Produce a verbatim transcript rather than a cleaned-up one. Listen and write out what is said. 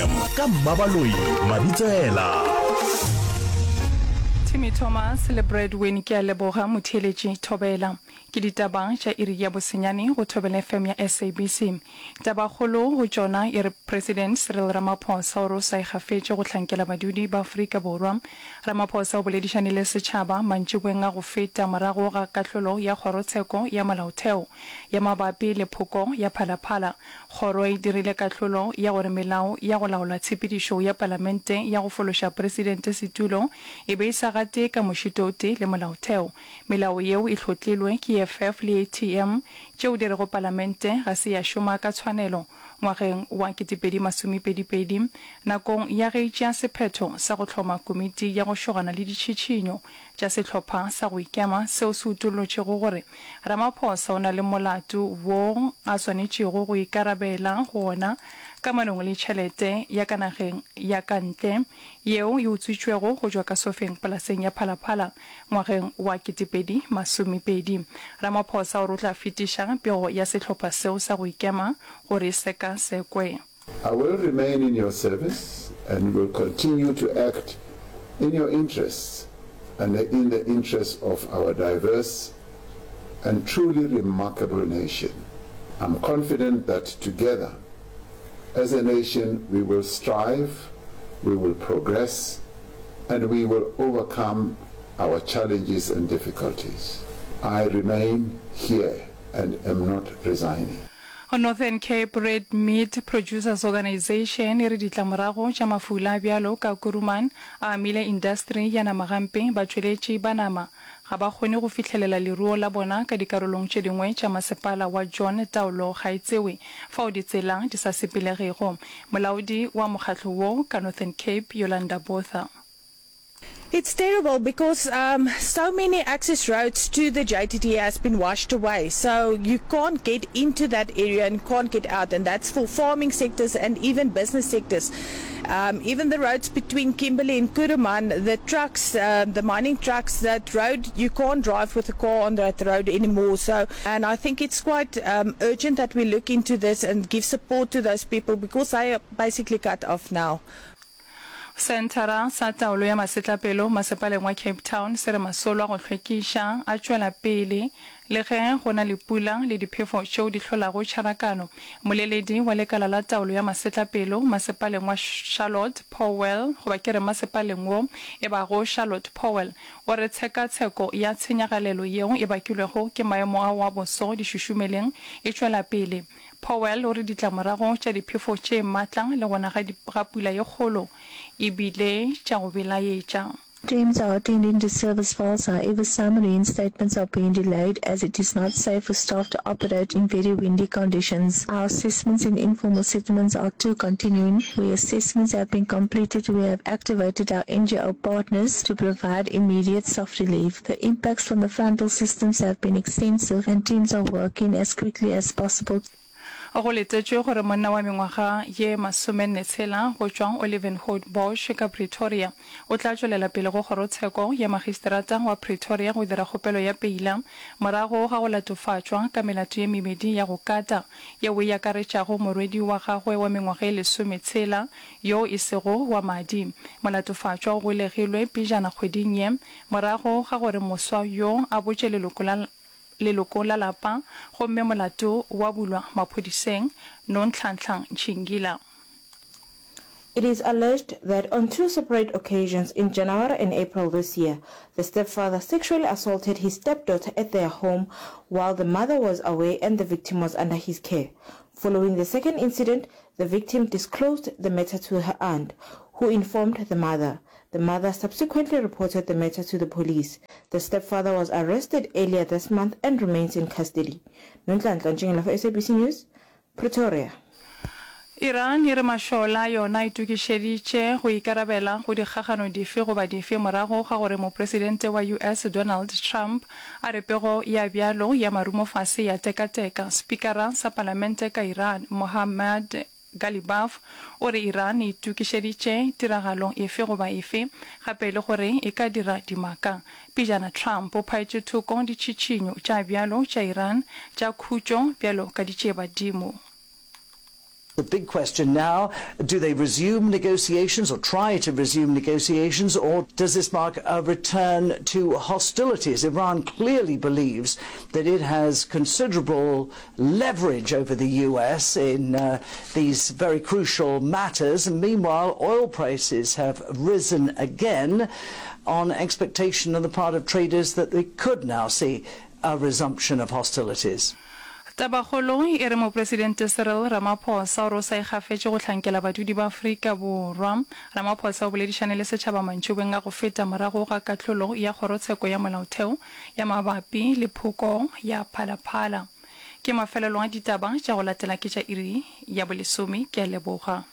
Ka Mmabaloi Mabitsela. Timmy Thomas le Bradwin ke a leboga motheeletši Thobela. Ke ditaba tša iri ya bosenyane go Thobela F M ya S A B C. Tabakgolo go tšona e re President Cyril Ramaphosa o re o sa ikgafetše go hlankela badudi ba Afrika Borwa. Ramaphosa o boledišane le setšhaba mantšiboeng a go feta morago ga kahlolo ya kgorotsheko ya molaotheo ya mabapi le phoko ya Phalaphala. Kgoro e dirile kahlolo ya gore melao ya go laola tshepedišo ya palamente ya go fološa presidente setulo e be e sa gate ka mošito o tee le molaotheo. Melao yeo e hlotlilwe ke E F F le A T M tšeo di rego palamente ga se ya šoma ka tshwanelo ngwageng wa ketepedi masomepedipedi nakong ya ge e tšea sephetho sa go hloma komiti ya go šogana le ditšhitšhinyo tša sehlopha sa go ikema seo se utollotšego gore Ramaphosa o na le molato wo a swanetšego go ikarabela go ona kamanong le tšhelete ya ka nageng ya ka ntle yeo e utswitšwego go tšwa ka sofeng polaseng ya Phalaphala ngwageng wa ketepedi masomepedi. Ramaphosa o re o tla fetiša pego ya sehlopha seo sa go ikema gore e sekasekwe. I will remain in your service and will continue to act in your interests and in the interests of our diverse and truly remarkable nation. I'm confident that together, as a nation, we will strive, we will progress, and we will overcome our challenges and difficulties. I remain here and am not resigning. Northern Cape Red Meat Producers Organisation e re ditlamorago tša mafula a bjalo ka Kuruman a amile indasteri ya nama gampe, batšweletši ba nama ga ba kgone go fihlelela leruo la bona ka dikarolong tše dingwe tša masepala wa John Taolo ga e tsewe fao ditsela di sa sepelegego. Molaodi wa mokgatlo wo ka Northern Cape Yolanda Botha. It's terrible because um, so many access roads to the J T T has been washed away. So you can't get into that area and can't get out. And that's for farming sectors and even business sectors. Um, even the roads between Kimberley and Kuruman, the trucks, uh, the mining trucks, that road, you can't drive with a car on that road anymore. So, and I think it's quite, um, urgent that we look into this and give support to those people because they are basically cut off now. Senthara sa Taolo ya Masetlapelo masepaleng wa Cape Town se re masolo a go hlwekiša a tšwela pele le ge go na le pula le diphefo tšeo di hlolago tšharakano. Moleledi wa lekala la taolo ya masetlapelo masepaleng wa Charlotte Powell, goba ke re masepaleng wo e bago Charlotte Powell, o re tshekatsheko ya tshenyagalelo yeo e bakilwego ke maemo ao a boso dišušumeleng e tšwela pele. Powell o re ditlamorago tša diphefo tše matla le gona ga ga pula ye kgolo e bile tša go belaetša. Teams are attending to service faults, however some reinstatements are being delayed as it is not safe for staff to operate in very windy conditions. Our assessments in informal settlements are too continuing. Where assessments have been completed, we have activated our N G O partners to provide immediate soft relief. The impacts from the frontal systems have been extensive and teams are working as quickly as possible. Go letetšwe gore monna wa mengwaga ye masomenne tshela go tšwa Olivenhout Bosch ka Pretoria o tla tšwelela pele go kgorotsheko ya magistrata wa Pretoria go dira kgopelo ya peila morago ga go latofatšwa ka melato ye mebedi ya go kata yeo e akaretšago morwedi wa gagwe wa mengwaga ye lesometshela yo e sego wa madi. Molatofatšwa o golegilwe pejana kgweding ye morago ga gore moswa yo a botše leloko la leloko la lapa gomme molato wa bulwa maphodiseng Nonhlanhla Ntšhingila. It is alleged that on two separate occasions in January and April this year, the stepfather sexually assaulted his stepdaughter at their home while the mother was away and the victim was under his care. Following the second incident, the victim disclosed the matter to her aunt, who informed the mother. The mother subsequently reported the matter to the police. The stepfather was arrested earlier this month and remains in custody. Nonhlanhla Ntšingela for S A B C News, Pretoria. Iran e re mašola a yona a itokišeditše go ikarabela go dikgagano dife goba dife morago ga gore mopresidente wa U S Donald Trump a re pego ya bjalo ya marumofase ya tekateka. Spikara sa palamente ka Iran Mohammad Ghalibaf o re Iran e itokišeditše tiragalo efe goba efe gape le gore e ka dira dimaka. Pejana Trump o phaetše thoko ditšhitšhinyo tša bjalo tša Iran tša khutšo bjalo ka ditšebadimo. The big question now, do they resume negotiations or try to resume negotiations, or does this mark a return to hostilities? Iran clearly believes that it has considerable leverage over the U S in, uh, these very crucial matters. And meanwhile, oil prices have risen again on expectation on the part of traders that they could now see a resumption of hostilities. Tabakgolo e re Mopresidente Cyril Ramaphosa o re o sa ikgafetše go hlankela badudi ba Afrika Borwa. Ramaphosa o boledišane le setšhaba mantšibeng a go feta morago ga kahlolo ya Kgorotsheko ya Molaotheo ya mabapi le phoko ya Phala Phala. Ke mafelelo a ditaba tša go latela ke tša iri ya bolesome. Ke a leboga.